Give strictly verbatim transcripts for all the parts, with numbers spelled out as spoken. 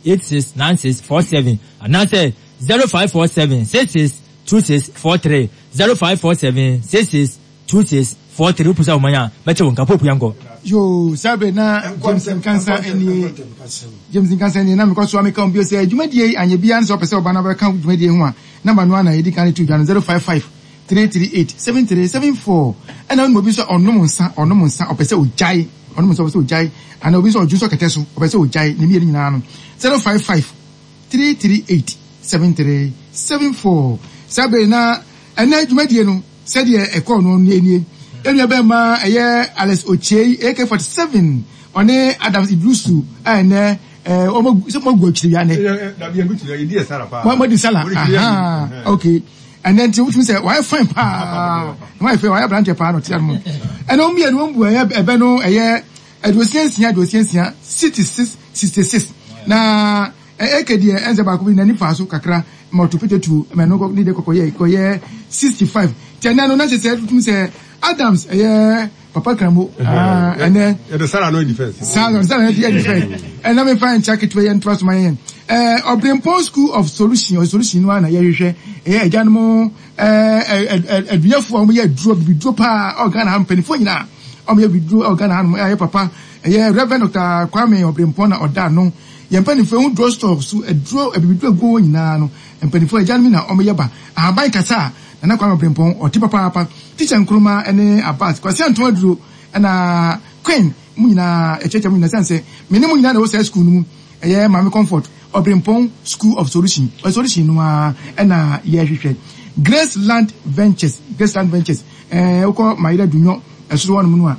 eight six nine six four seven anaasɛ zero five four seven six six two six four three zero five four seven six six two six four three wopusa wɔn a bɛkyɛ wɔn nka pope yankɔ. Yoo, saa bere na James Nkansa nie, James Nkansa nie, na mekɔ so a meka wɔn bio sɛ dwumadie yi anyɛ biara no sɛ ɔpɛ sɛ ɔba na ɔbɛka dwumadie ho a, namba no ara na yɛdi kan de to dwa no, zero five five three three eight seven three seven four. Ɛna wonim obi nso a ɔnom nsa, ɔnom nsa, ɔpɛ sɛ ɔgyae, ɔnom nsa ɔpɛ sɛ ɔgyae, anaa obi nso a ɔdwo nso kɛtɛ so, ɔpɛ sɛ ɔgyae, ne mmienu nyinaa no, zero five five three three eight seven three seven four. Saa bere na ɛnɛ dwumadie no sɛdeɛ ɛkɔɔ no nie nie. Yɛn nua bɛrima ɛyɛ Alex Okyei A K forty seven ɔne Adams Idrusu a ɛnɛ ɛɛ wɔn sɛ mo agu akyiri wia nɛ. Mo mo di sala, aha, okay. Ɛnɛ nti wotumi sɛ wayɛ fine paa, wayɛ fine, wayɛ aberanteɛ paa na ɔte ano. Ɛnɛ wɔn mmienu wɔn bu ɛyɛ ɛbɛ no ɛyɛ aduosia nsia aduosia nsia, sixty six sixty six, na ɛka deɛ ɛnsɛ baako bi n'ani fa so kakra ma ɔto pete tuo ma ɛno ne de kɔkɔyɛ kɔyɛ sixty five. Kyɛ ɛnɛ no na kyerɛ sɛ wotumi sɛ Adams ɛyɛ papa kramo ɛnɛ. Yɛde sara no adi first. Sara sara no adi first. Ɛna mefa nkyɛn ketewa yɛn ntoa so ma yɛn ɛɛ Ɔbrempɔn School of Solution or Solution no a na yɛhwehwɛ ɛyɛ agyanom ɛɛ aduafoɔ a wɔyɛ aduro bibiduro paa ɔ Ghana ha, mpanimfoɔ nyinaa a wɔyɛ bibiduro ɔ Ghana ha nom. Ɛyɛ papa ɛyɛ Reverend Doctor Kwame Ɔbrempɔn na ɔda ano. Yɛn mpanimfoɔ ehu drug store so aduro abibiduro egu hɔ nyinaa no, mpanimfoɔ agyanom na wɔyɛ ba ahaban kasa a Nana Kwame Ɔbrempɔn ɔte papaapa. Teacher Nkrumah ɛne Abbas Kwasi Anton aduro ɛna Queen mu nyinaa ɛkyerɛkyerɛ mu nyinaa sɛn sɛ me ne mu nyinaa na ɛwɔ saa school no mu, ɛyɛ Maame Comfort Ɔbrempɔn School of Solution Solution no ara ɛna yɛrehwehwɛ. Grace Land Ventures, Grace Land Ventures, ɛɛ wokɔ Mayera Dunyɔ ɛsoro hɔnom no a,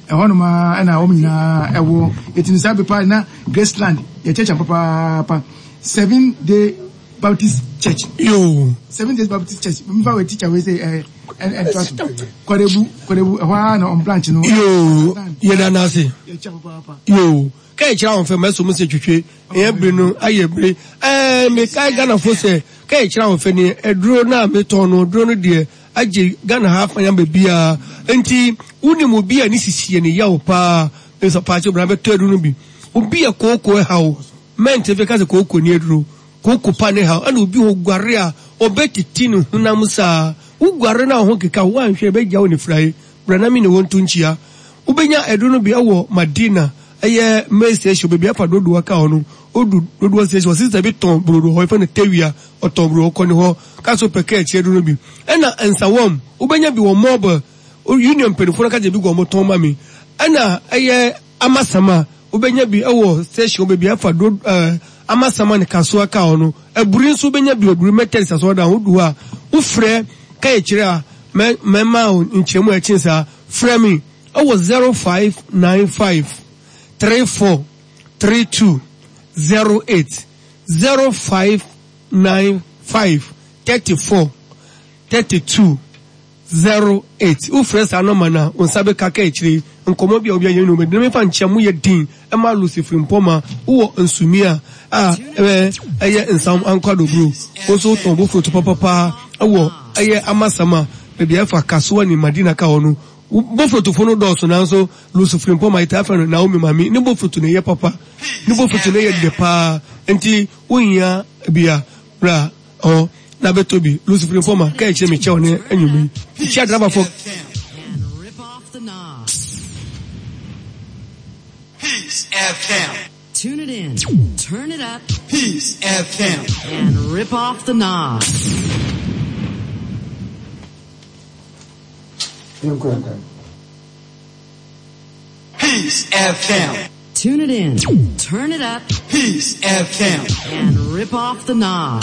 ɛhɔnom a ɛna wɔn nyinaa ɛwɔ. Eti no saa bepa na Grace Land yɛkyerɛkyerɛ papaapa. Seven Day Baptist Church. Yoo. Seven Days Baptist Church, nfa wɔ teacher wei sɛ ɛɛ ɛntoa so Kɔdebu, Kɔdebu ɛhɔ ara na ɔn branch no. Yoo, yɛda n'ase. Yɛkyɛ papaapa. Yoo, ka ɛkyerɛ wɔn fɛ mɛso mo sɛ twitwe ɛyɛ bere no ayɛ bere ɛɛ mekae Ghanafo sɛ ka ɛkyerɛ wɔn fɛ ne aduro no a metɔn no, aduro no deɛ agye Ghana ha afa yɛn baabiara, nti wonim obi a ne sisi yɛ ne yaw paa nso paakye bra bɛtɔ aduro no bi. Obi a kooko ɛhaw mɛnte fɛ ka sɛ kooko ni aduro kooko pa ne haw, ɛna obi hɔ guare a ɔbɛtiti ne honam saa, woguare no a ho keka wo anhwɛ ɛbɛgya wo ne firae, bra na mi ne wɔn to nkyia. Wobɛnya aduro no bi ɛwɔ Madina, ɛyɛ main station, baabi afa dodoɔ ka hɔ no, odu dodoɔ station, sister bi tɔn brodo hɔ, yɛfrɛ no Tewia, ɔtɔn brodo, ɔkɔ ne hɔ ka so pɛ kaa akyi aduro no bi. Ɛna Nsawam wobɛnya bi wɔ Mobile Union, mpanimfoɔ no ka kyerɛ bi gu ɔmo tɔn ma mi. Ɛna ɛyɛ Amasama wobɛnya bi ɛwɔ station baabi afa do ɛɛ Amasama ne Kasoa ka hɔ no. Aburi nso wobɛnya bi, Aburi Methodist asɔrɔdan, wodu hɔ a wofrɛ ka akyire a mɛ mɛma nkyɛnmu a ɛkyen saa. Frɛ mi ɛwɔ zero five nine five three four three two zero eight, zero five nine five thirty four thirty two zero eight. Wofrɛ saa nɔma no a, wo nsa bɛka ka akyire nkɔmmɔ bi a obi ayɛ no bɛdi na mefa nkyɛn mu yɛ din ɛma Lucy Frimpɔma wowɔ nsumi a a ɛbɛ ɛyɛ nsam ankwadoburo, wo nso wotɔn bofuro papapaa ɛwɔ ɛyɛ Amasama baabi a ɛfa Kasoa ne Madina ka hɔ no. Bofurotofo no dɔɔso, nanso Lucy Frimpɔma yɛtaa frɛ no Naomi Mami ne bofuro no yɛ papa, ne bofuro no yɛ dɛ paa, nti wohia bia bra hɔ na bɛtɔ bi. Lucy Frimpɔma ka akyire mekyɛw ne anwummerɛ yi kyia drabafo. And rip off the knob. Peace F M. Tune it in. Turn it up. Peace F M. And rip off the knob. Yɛnkɔ. Peace F M. Tune it in. Turn it up. Peace F M. And rip off the knob.